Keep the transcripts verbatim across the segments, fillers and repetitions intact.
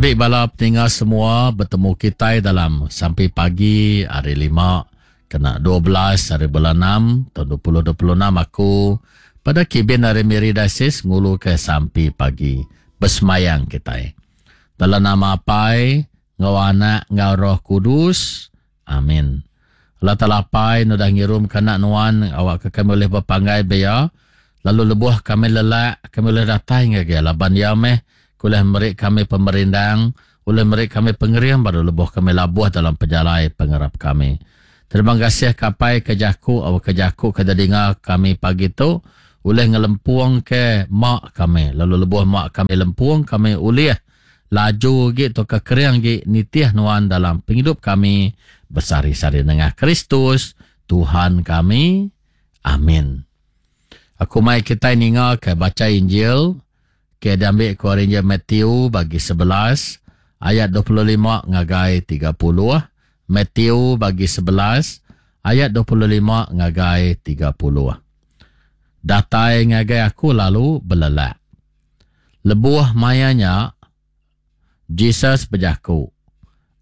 Tabi bala peninga semua, betemu kitai dalam sampi pagi hari lima kena dua belas hari bulan enam tahun dua ribu dua puluh enam. Aku pada kibin hari Miri Diocese ngulu ke sampi pagi bersemayang kitai. Dalam nama Apai, ngau Anak, ngau Roh Kudus. Amin. Allah Taala Apai, nudah ngirum ke anak nuan, awak ke kami boleh berpanggai beya, lalu lebuh kami lelak, kami boleh datai ngagai laban ya meh, boleh meri kami pemerindang, boleh meri kami pengering baru lebuh kami labuh dalam pejalai pengarap kami. Terima kasih ke Apai ke jaku, awak ke jaku ke dengar kami pagi tu, boleh ngelempung ke mak kami, lalu lebuh mak kami lempung, kami ulih laju gi atau ke kering gi nitih nuan dalam penghidup kami besari-sari nengah Kristus Tuhan kami. Amin. Aku mai kita ninga ke baca Injil ke diambil ke Injil Matthew bagi sebelas ayat dua puluh lima ngagai tiga puluh. Matthew bagi sebelas ayat dua puluh lima ngagai tiga puluh. Datai ngagai aku lalu belelak. Lebuh mayanya Jesus berjaku,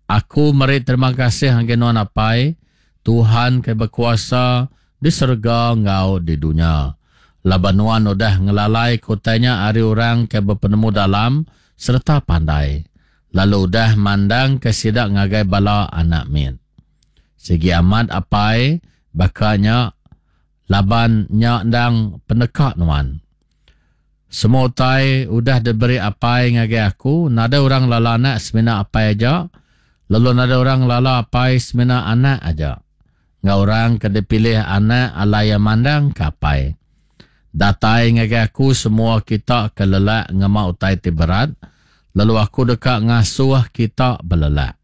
Aku meri terima kasih ngagai nuan Apai, Tuhan ke berkuasa di serega ngau di dunia. Laban nuan udah ngelalai kotanya ari orang ke berpenemu dalam serta pandai, lalu udah mandang ke sidak ngagai bala anak min. Sigi amat Apai, bakanya laban nya ndang penekak nuan. Semua utai udah diberi Apai ngagai aku, nada orang lala anak semina Apai aja, lalu nada orang lala Apai semina anak aja. Ngau orang ke dipilih anak alai yang mandang ke Apai. Datai ngagai aku semua kita ke lelak ngema utai ti berat, lalu aku deka ngasuh kita belelak.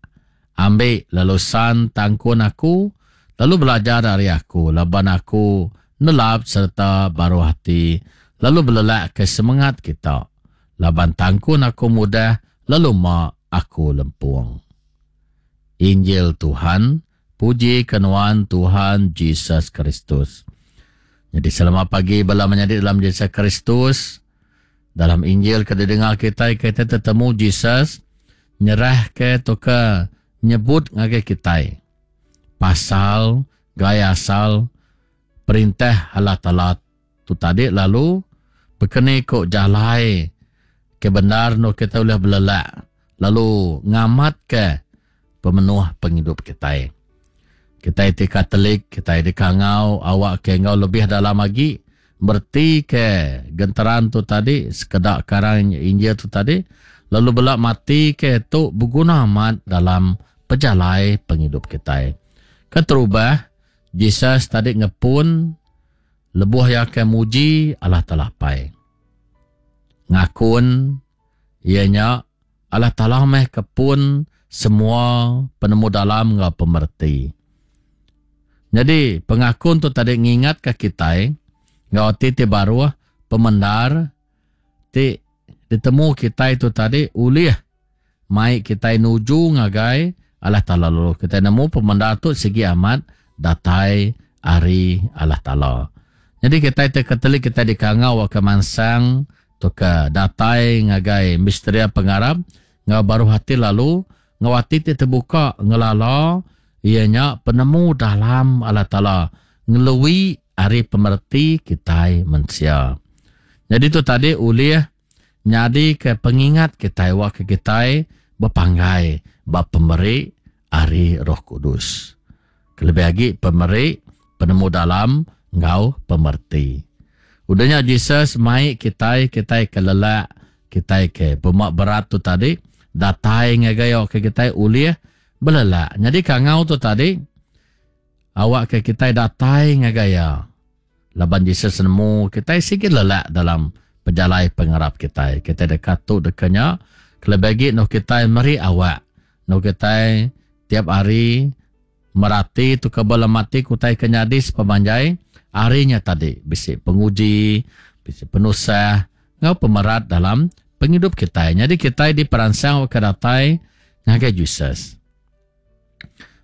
Ambil lalu san tangkun aku, lalu belajar dari aku, laban aku nelap serta baruh hati, lalu belelak ke semangat kita. Laban tangkun aku mudah, lalu ma aku lempung. Injil Tuhan, puji kenuan Tuhan Jesus Kristus. Jadi selamat pagi bala menyadi dalam Jesus Kristus. Dalam Injil ke didengar kita, kita tetemu Jesus nyerah ke toka nyebut ngagai kita. Pasal gaya asal perintah Allah Taala tu tadi, lalu berkeni kok jalai ke benar no kita boleh belelak lalu ngamat ke pemenuh penghidup kita. Kita ti Katolik, kita di kangau awak ke ngau lebih dalam lagi berti ke genteran tu tadi, sekedak karang Injil tu tadi, lalu belak mati ke tu berguna amat dalam pejalai penghidup kita. Keterubah Jesus tadi ngepun lebuh ya ke muji Allah Taala Apai. Ngakun ianya Allah Taala meh kepun semua penemu dalam ngau pemerti. Jadi pengakun tu tadi ngingat ke kita ngau ti ti baruh pemendar ti ditemu kita itu tadi ulih mai kita nuju ngagai Allah Taala. Lalu kita nemu pemendar tu segi amat datai ari Allah Taala. Jadi kita ti Katolik, kita dikangau ke mansang tu ke datai ngagai misteri pengarap ngau baruh hati, lalu ngau hati ti terbuka ngelala ianya penemu dalam Allah Taala ngelui ari pemerti kita manusia. Jadi tu tadi ulih nyadi ke pengingat kita wak ke kita berpanggai ba pemeri ari Roh Kudus. Kelebih lagi pemeri penemu dalam ngau pemerti. Udahnya Jesus mai kita, kita ke lelak, kita ke pemak berat tu tadi datai ngagai ke kita ulih belelak. Jadi kangau tu tadi awak ke kita datai ngagai ya. Laban Jesus nemu kita sikit lelak dalam pejalai pengarap kita. Kita dekat tu dekanya kelebih lagi no kita meri awak. No kita tiap hari merati tu ke bala mati kutai ke nyadi sepemanjai harinya tadi. Bisi penguji, bisi penusah, ngau pemerat dalam penghidup kita. Jadi kita diperangsang ke datai ngagai Jesus.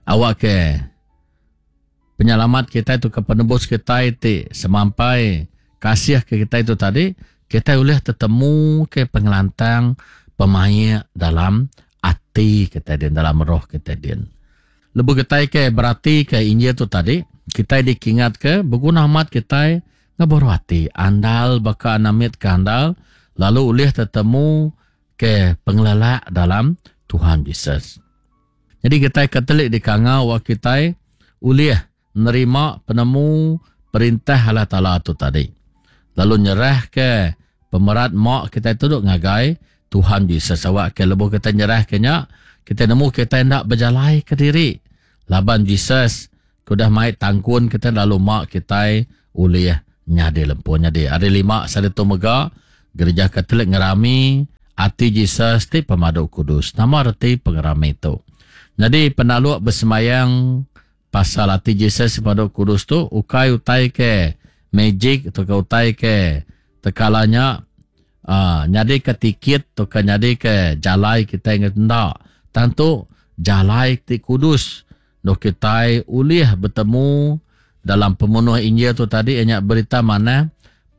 Awak ke penyelamat kita itu ke penebus kita itu semampai kasih ke kita itu tadi, kita boleh tetemu ke pengelantang pemaik dalam ati kita din, dalam roh kita din. Lebuh kita ke berarti ke Injil tu tadi, kita dikingat ke berguna amat kita ngaburu ati, andal baka anamit ke andal, lalu ulih tetemu ke pengelelak dalam Tuhan Yesus. Jadi kita Katolik di kangau wa kita ulih nerima penemu perintah Allah Taala tu tadi. Lalu nyerah ke pemerat mak kita tu duk ngagai Tuhan Yesus. Awak ke lebuh kita nyerah ke nya, kita nemu kita ndak berjalai ke diri. Laban Jesus kudah mai tangkun kita lalu mak kita ulih nyadi lempun. Jadi hari lima sari tu mega gereja Katolik ngerami ati Jesus ti pemadu kudus. Nama reti pengerami tu? Jadi penaluk bersemayang pasal ati Jesus pemadu kudus tu ukai utai ke magic atau ke utai ke tekalanya uh, nyadi ke tiket atau ke nyadi ke jalai kita ingat ndak. Tentu jalai ti kudus do kita ulih bertemu dalam pemenuh Injil tu tadi ianya berita mana